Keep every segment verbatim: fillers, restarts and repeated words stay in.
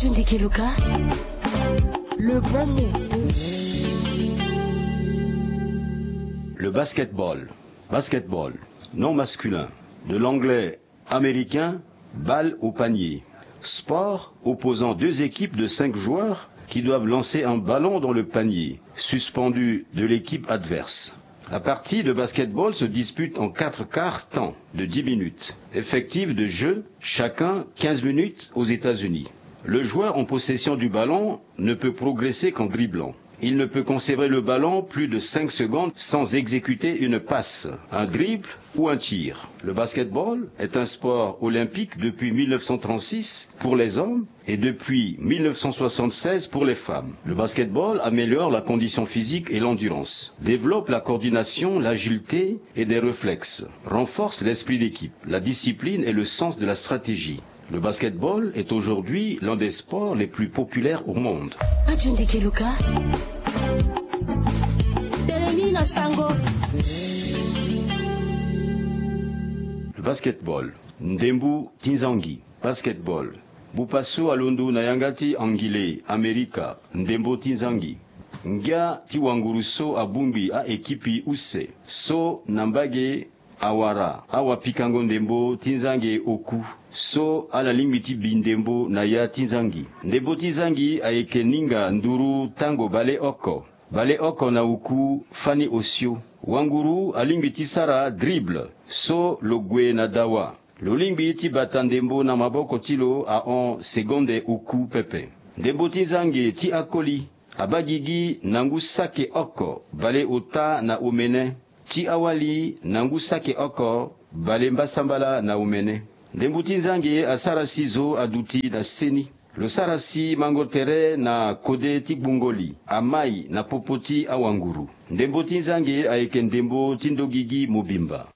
Ndikeluka, le bon mot. Le basketball. Basketball, nom masculin, de l'anglais américain, balle au panier. Sport opposant deux équipes de cinq joueurs qui doivent lancer un ballon dans le panier, suspendu de l'équipe adverse. La partie de basketball se dispute en quatre quarts temps de dix minutes, effectif de jeu, chacun quinze minutes aux États-Unis. Le joueur en possession du ballon ne peut progresser qu'en dribblant. Il ne peut conserver le ballon plus de cinq secondes sans exécuter une passe, un dribble ou un tir. Le basketball est un sport olympique depuis mille neuf cent trente-six pour les hommes et depuis mille neuf cent soixante-seize pour les femmes. Le basketball améliore la condition physique et l'endurance, développe la coordination, l'agilité et des réflexes, renforce l'esprit d'équipe, la discipline et le sens de la stratégie. Le basketball est aujourd'hui l'un des sports les plus populaires au monde. Ajundi Keluka. Telemi na sango. Le basketball. Ndembo ti nzangi. Basketball. Bupa so alondo na yanga ti Angile, Amerika, ndembo ti nzangi. Ngia ti wanguru so abongbi a-ekipi use so na mbage awara awapikango ndembo ti nzangi oku so ala lingbi ti bi ndembo na ya ti nzangi. Ndembo ti nzangi ayeke ninga nduru tango baleoko, baleoko na oku fani osio. Wanguru alingbi ti sara dribble so lo gue na dawa. Lo lingbi ti bata ndembo na maboko ti lo ahon segonde oku pepe. Ndembo ti nzangi ti akoli abaa gigi na ngu saki oko baleota na omene, ti awali na ngu saki oko balembasambala na omene. Ndembo ti nzangi asara si zo aduti na seni. Lo sara si mango tere na kode ti gbungo li amai na popo ti awanguru. Ndembo ti nzangi ayeke ndembo ti ndogigi mobimba.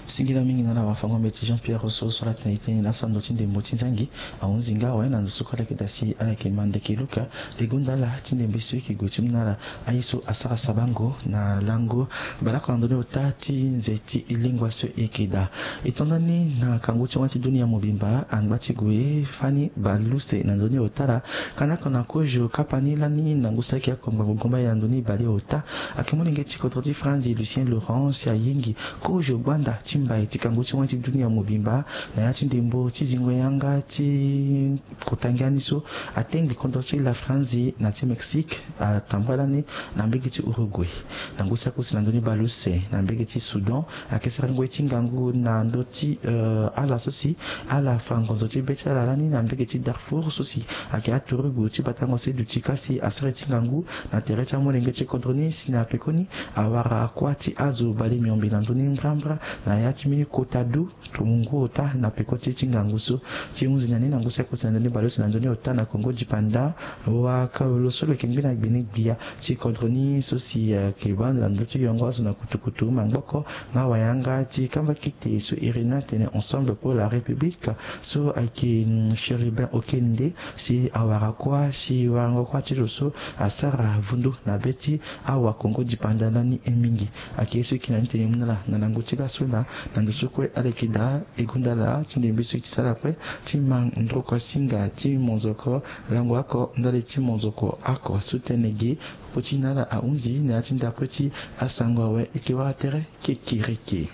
Singila mingi na ala wafango-mbeti Jean-Pierre Rousseau so ala tene e tene na sando ti ndembo ti nzangi. Ahunzi nga awe na ndo so kue ala yeke daa si ala yeke ma ndeke luka e gonda ala ti ndembe so e yeke gue ti mu na ala. Aye so asara sabango na lango baleoko na ndoni ota ti nze ti lingua so e yeke daa. E to ndani na kangu ti wani ti dunia mobimba angba ti gue fani baleuse na ndoni ota ala. Kanda oko na kozo kapa ni lani na ngu saki oko ngbangbo gomba ye na ndoni baleota. Ayeke molenge ti kodro ti Franzi Lucien Laurent si ayingi kozo gbanda ti mbai ti kangu ti wani ti dunia mobimba na ya ti ndembo ti zingo yanga ti kota ngia ni so atengbi kodro ti la Franzi na ti Mexique atambula lani na mbege ti Uruguay. Na ngu saki use na ndoni baleuse na mbege ti Soudan ayeke sara ngoi ti ngangu na ndö ti, eh, ala so si ala fa ngonzo ti be ti ala lani na mbege ti Darfour so si ayeke aturugu ti batango se duti kasi asara ti ngangu na tere ti amolenge ti kodro ni si na pekoni awara kuâ ti azo bale miombe na ndö ni mbrambra na ya ti mbeni kota du. Tongo ngu ota na peko ti e ti ngangu so ti hunzi na ni na ngu saki use na ndö ni baleuse na ndö ni ota na Kongo dipanda. Wa ka lo so lo yeke ngbi na gbe ni gbia ti kodro ni so si, eh, ayeke baa ndo na ndö ti yongo azo na kutukutu maboko nga wayanga ti kamba kite so iri ni atene Ensemble pour la République so ayeke, mm, Chérubin Okende si awara kuâ si warango kuâ ti lo so asara vundu na be ti awa Kongo dipanda lani mingi. Ayeke ye so e yeke na ni tene mu na ala na lango ti laso laa na ndo so kue ala yeke daa e gonda ala ti ndembe so e ti sara kue ti ma ndroko singa ti monzoko lango oko ndali ti monzoko oko so tënë ge. Popo ti na ala ahunzi na ya ti ndapre ti asango awe e yeke wara tere kekereke.